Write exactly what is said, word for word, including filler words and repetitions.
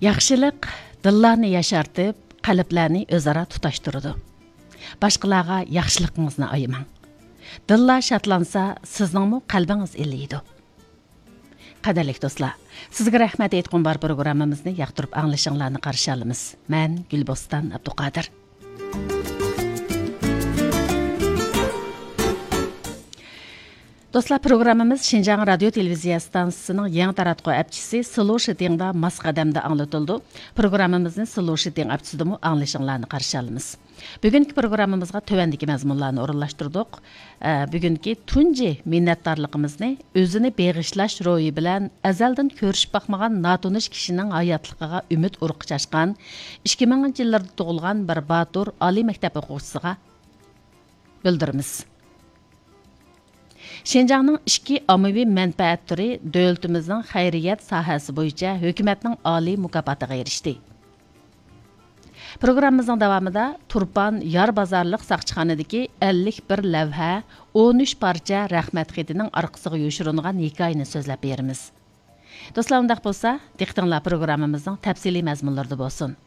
ياخشىلىق دىللارنى ياشارتىپ، قەلبلەرنى ئۆزئارا تۇتاشتۇرىدۇ. باشقىلارغا ياخشىلىقىڭىزنى ئايىماڭ. دىللار شادلانسا، سىزنىڭمۇ قەلبىڭىز ئىللىيدۇ. قەدىرلىك دوستلار، سىزگە رەھمەت ئېيتقۇم بار پروگراممىمىزنى ياقتۇرۇپ ئاڭلىشىڭلارنى قارشى ئالىمىز. مەن گۈلبوستان ئابدۇقادىر. دوستلار، پروگراممىمىز شىنجاڭ رادىيو تېلېۋىزىيە ئىستانسىسىنىڭ يېڭى تاراتقۇ ئەپچىسى سلوشىتىڭدا ماس قەدەمدە ئاڭلىتىلىدۇ. پروگراممىمىزنى سلوشىتىڭ ئەپچىسىدىمۇ ئاڭلىشىڭلارنى قارشى ئالىمىز. بۈگۈنكى پروگراممىمىزغا تۆۋەندىكى مەزمۇنلارنى ئورۇنلاشتۇردۇق. ئە، بۈگۈنكى تۇنجى مىننەتدارلىقىمىزنى ئۆزىنى بېغىشلاش روھى بىلەن ئەزەلدىن كۆرۈشۈپ باقمىغان ناتونۇش كىشىنىڭ ھاياتلىقىغا ئۈمىد ئۇرۇقى چاچقان ئىككى مىڭىنچى يىللىرىدا تۇغۇلغان بىر باتۇر ئالىي مەكتەپ ئوقۇغۇچىسىغا بىلدۈرىمىز. شىنجاڭنىڭ ئىچكى ئاممىۋى مەنپەئەت تۈرى دۆلىتىمىزنىڭ خەيرىيەت ساھەسى بويىچە ھۆكۈمەتنىڭ ئالىي مۇكاپاتىغا ئېرىشتى. پروگراممىمىزنىڭ داۋامىدا تۇرپان يار بازارلىق ساقچىخانىدىكى ئەللىك بىر لەۋھە، ئون ئۈچ پارچە رەھمەت خېتىنىڭ ئارقىسىغا يوشۇرۇنغان ھېكايىنى سۆزلەپ بېرىمىز. دوستلار، ئۇنداق بولسا، دىققىتىڭلار پروگراممىمىزنىڭ تەپسىلىي مەزمۇنلىرىدا بولسۇن.